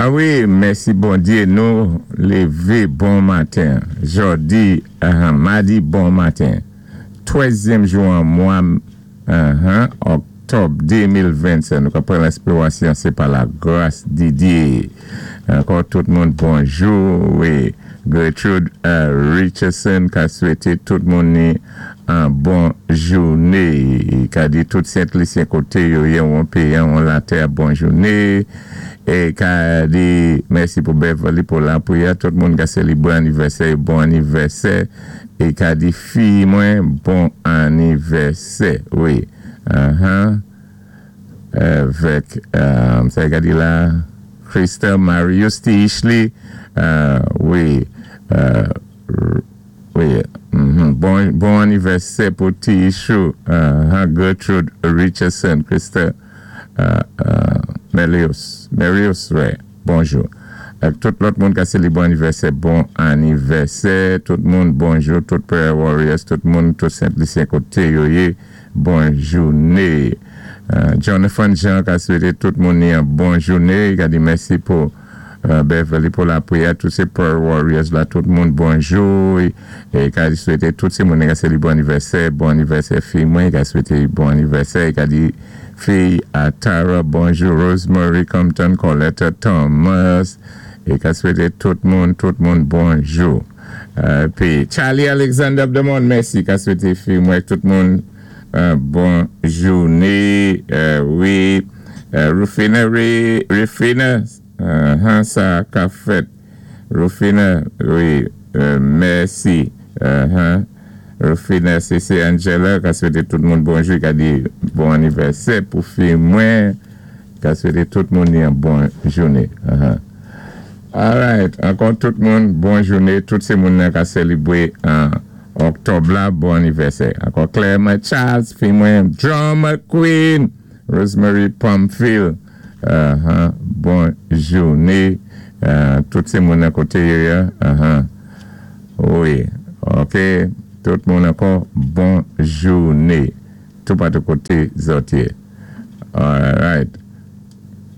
A wi, mèsi Bondyé, nou lévé bon maten. Jòdi, madi bon maten. Twèzyèm jou an mwa òktòb 2027. Nou ka pran lenspiwasyon, sé pa la gras di Dyé. Ankò tout moun bonjou. Wi, Gertrude Richardson ka swété tout moun ni an bon jouné. Ka di tout Sent Lisyen koté yo yé won péyi an won latè bon jouné. É ka di mèsi pou Beverly pou lapwiyè. Tout moun ka sélibré anivèsè yo bon anivèsè. É ka di fiy mwen bon anivèsè. Wi. Avèk sa ka di la Christa Marius Tichli. Wi. Wi. Bon bon anivèsè pou Tichou. Gertrude Richardson. Christa Melius. Melius, wi. Bonjou. Ak tout lòt moun ka sélibré anivèsè, bon anivèsè. Tout moun bonjou. Tout prayer warriors, tout moun, tout Sent Lisyen koté yo yé, bon jouné. Jonathan Jean ka swété tout moun ni an bon jouné. Ka di mèsi pou Beverly pou lapwiyè. Tout sé prayer warriors la, tout moun bonjou. É ka swété tout sé moun ka sélibré anivèsè, bon anivèsè fiy mwen. Ka swété bon anivèsè. Ka di fiy a Tara bonjou. Rosemary Compton, Coletta Thomas. É ka swété tout moun bonjou. Pi Charlie Alexander Abdemon, mèsi. Ka swété fiy mwen, tout moun bon jouné. Wi, Rufina, Rufina, sa ka fèt. Rufina, wi, mèsi. Rufina, sé Angela, ka swété tout moun bonjou, ka di bon anivèsè pou fiy mwen, ka swété tout moun yon bon jouné. Alright, ankò tout moun, bon jouné, tout sé moun nan ka sélibré an òktòb la, bon anivèsè. Ankò Clermont Charles, fiy mwen, Drama Queen, Rosemary Pamphile, bon jouné, tout sé moun nan koté yo ya, wi, ok, tout moun ankò, bon jouné, toupatou koté zòt yé. Alright.